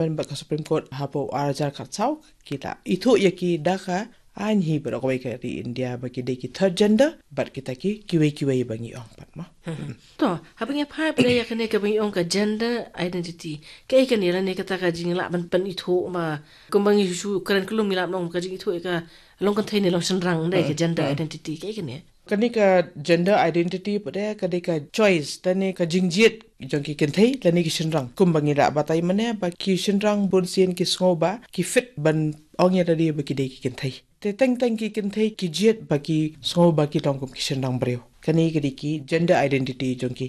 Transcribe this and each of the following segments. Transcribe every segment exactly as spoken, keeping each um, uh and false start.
Ban bad ka Supreme Court hapoh ar hajar khatsaw ki la ithuh ïa ki da ka aiñ hi baroh kawei ka ri India ba ki dei ki third gender bad kita ki kiwei kiwei ba ngi ong pat mo. To, haba ngi phai pat ïa kane kaba ngi ong ka gender identity, kaei kane lane kata ka jinglah ban pynithuh ma, kumba ngi shu kren khlem ngi lah ban ong ka jingithuh ïa ka long kynthei ne long shynrang, dei ka gender identity, kaei kane? Kane ka gender identity pat ka dei ka choice lane ka jingjied jong ki kynthei lane ki shynrang. Kumba ngi la batai mynne ba ki shynrang bun sien ki sngew ba ki fit ban ong ïa lade ba ki dei ki kynthei. Te teng teng ki kynthei ki jied ba ki sngew ba ki long kum ki shynrang briew. Kane ka dei ki gender identity jong ki.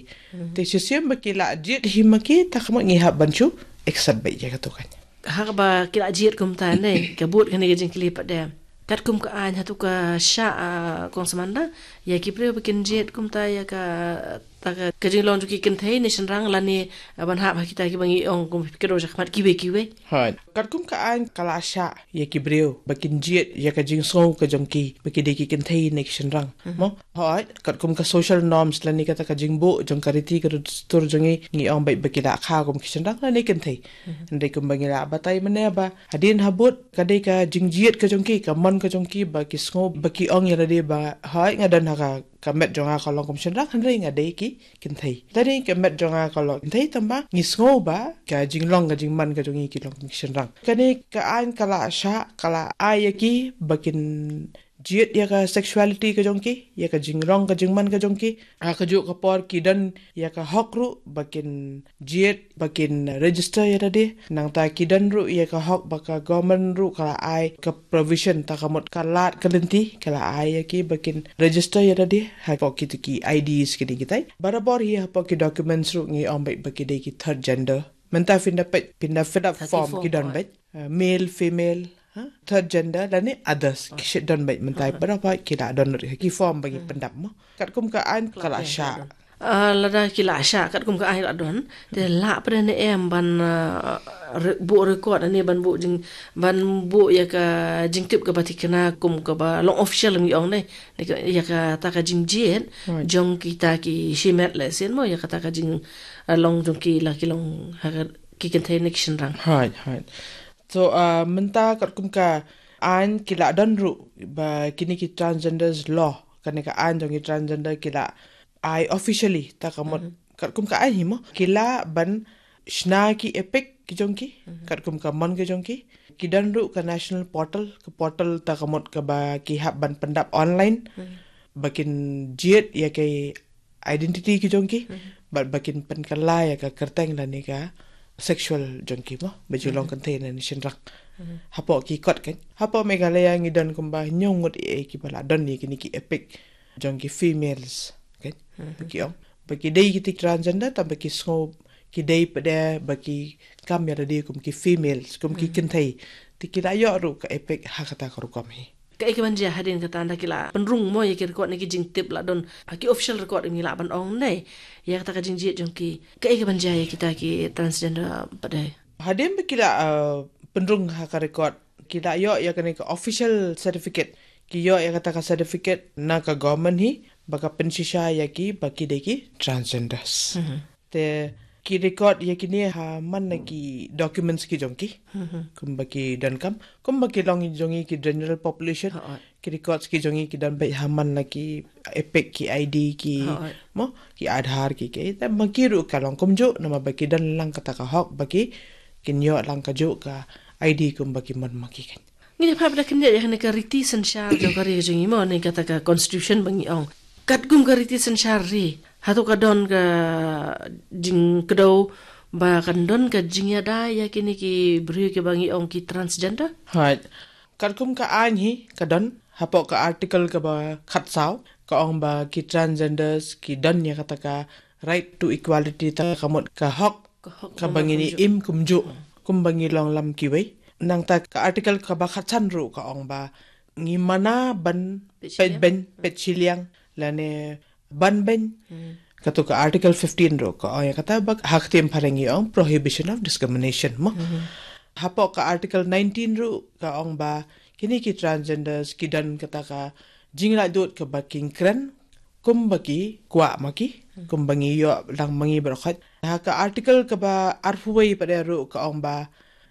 Te shisien ba ki la jied hi ma ki, ta ka mut ngi hap ban shu accept beit ïa kato kan. Ha kaba ki la jied kumta ne, ka bud kane ka jingkylli pat de. Katkum ka aiñ hato ka shah, ah, kong Samantha, ïa ki briew ba kin jied kumta ïa ka, ta ka, ka jinglong jong ki kynthei ne shynrang lane, ah, ban hap ha kita kiba ngi ong kum ki dei shakhmat kiwei kiwei. Hooid. Katkum ka aiñ ka la shah ïa ki briew ba kin jied ïa ka jingsngew ka jong ki ba ki dei ki kynthei ne ki shynrang. Mo? Hooid, katkum ka social norms lane kata ka jingbuh jong ka riti ka dustur jong ngi, ngi ong beit ba ki la kha kum ki shynrang lane kynthei. Hynrei kumba ngi la batai mynne ba hadien habud ka dei ka jingjied ka jong ki, ka mon ka jong ki ba ki sngew ba ki ong ïa lade ba hooid nga don ha ka, ka met jong nga ka long kum shynrang hynrei nga dei ki kynthei. Lane ka met jong nga ka long kynthei tangba ngi sngew ba ka jinglong ka jingman ka jong ngi ki long kum ki shynrang. Kane ka aiñ ka la shah, ka la ai ïa ki ba kin jied ïa ka sexuality ka jong ki, ïa ka jinglong ka jingman ka jong ki. Ha kajuh ka por ki don ïa ka hok ruh ba kin jied, ba kin register ïa lade. Nangta ki don ruh ïa ka hok ba ka government ruh ka la ai ka provision, ta ka mut ka lad ka lynti ka la ai ïa ki ba kin register ïa lade hapoh kito ki I Ds kine kitai. Barabor hi hapoh ki documents ruh ngi ong beit ba ki dei ki third gender. Mynta phin da peit, phin da fill up form ki don beit, uh, male, female, ha? Third gender lane others. Ki shah don beit mynta, barabor ki la don ruh ki form ba ngi pyndap mo. Katkum ka aiñ ka la shah. Ah, lada ki la shah katkum ka aiñ la don, te lah pat ne em ban, ah, re-, buh record ne ban buh jing, ban buh ïa ka jingtip kaba thikna kum kaba long official ngi ong ne. Ïa kata ka jingjied jong kita ki shimet lehse mo, ïa kata ka jing, ah, long jong ki la ki long ha ka ki kynthei ne ki shynrang. Hooid, hooid. So, ah, mynta katkum ka aiñ ki la don ruh ba kine ki transgenders law, kane ka aiñ jong ki transgender ki la ai officially, ta ka mut katkum ka aiñ hi mo, ki lah ban shna ki EPIC ki jong ki katkum ka mon ka jong ki. Ki don ruh ka national portal, ka portal ta ka mut kaba ki hap ban pyndap online ba kin jied ïa ka identity ki jong ki, bad ba kin pynkylla ïa ka kyrteng lane ka sexual jong ki mo, ba ju long kynthei ne shynrang. Hapoh ki kot kan, hapoh Meghalaya ngi don kumba hynñiew ngut eh kiba la don ïa kine ki EPIC jong ki females kan. Ba ki ong ba ki dei kiti transgender tangba ki sngew ki dei pat de ba ki kam ïa lade kum ki females, kum ki kynthei. Te ki la ïoh ruh ka EPIC ha kata ka rukom hi. Kaei kaban jia hadien kata, ynda ki la pynrung mo ïa ki record ne ki jingtip la don, ha ki official record ngi lah ban ong ne, ïa kata ka jingjied jong ki? Kaei kaban jia ïa kita ki transgender pat de? Hadien ba ki la, uh, pynrung ha ka record, ki la ïoh ïa kane ka official certificate. Ki ïoh ïa kata ka certificate na ka government hi ba ka pynshisha ïa ki ba ki dei ki transgenders. Te ki record ïa kine ha man la ki documents ki jong ki. Kumba ki donkam, kumba ki long jong ngi ki general population. Ki records ki jong ngi ki don beit ha man la ki EPIC, ki ID ki, mo, ki Aadhaar ki, ki. Te ma ki ruh ka long kumjuh, namar ba ki don lang kata ka hok ba ki kin ïoh lang kajuh ka ID kumba ki mon ma ki kan. Ngin ïa phai pat da khyndiat ïa kane ka riti synshar jong ka ri ka jong ngi mo, ne kata ka constitution ba ngi ong. Katkum ka riti synshar ri, hato ka don ka jingkdew ba kan don ka jingïada ïa kine ki briew kiba ngi ong ki transgender? Hooid. Katkum ka aiñ hi ka don, hapoh ka article kaba khatsaw ka ong ba ki transgenders ki don ïa kata ka right to equality, ta ka mut ka hok kaba ngin ïa im kumjuh kumba ngi long lam kiwei. Nangta ka article kaba khatsan ruh ka ong ba ngi mana ban peit beiñ, peit shiliang lane ban beiñ. Kato ka article fifteen ruh ka ong ïa kata ba ha ka ktien phareng ngi ong prohibition of discrimination mo. Hapoh ka article nineteen ruh ka ong ba kine ki transgenders ki don kata ka jinglaitluid kaba ki kren kumba ki kwah ma ki, kumba ngi ïoh lang ma ngi baroh khoit. Ha ka article kaba arphew wei pat de ruh ka ong ba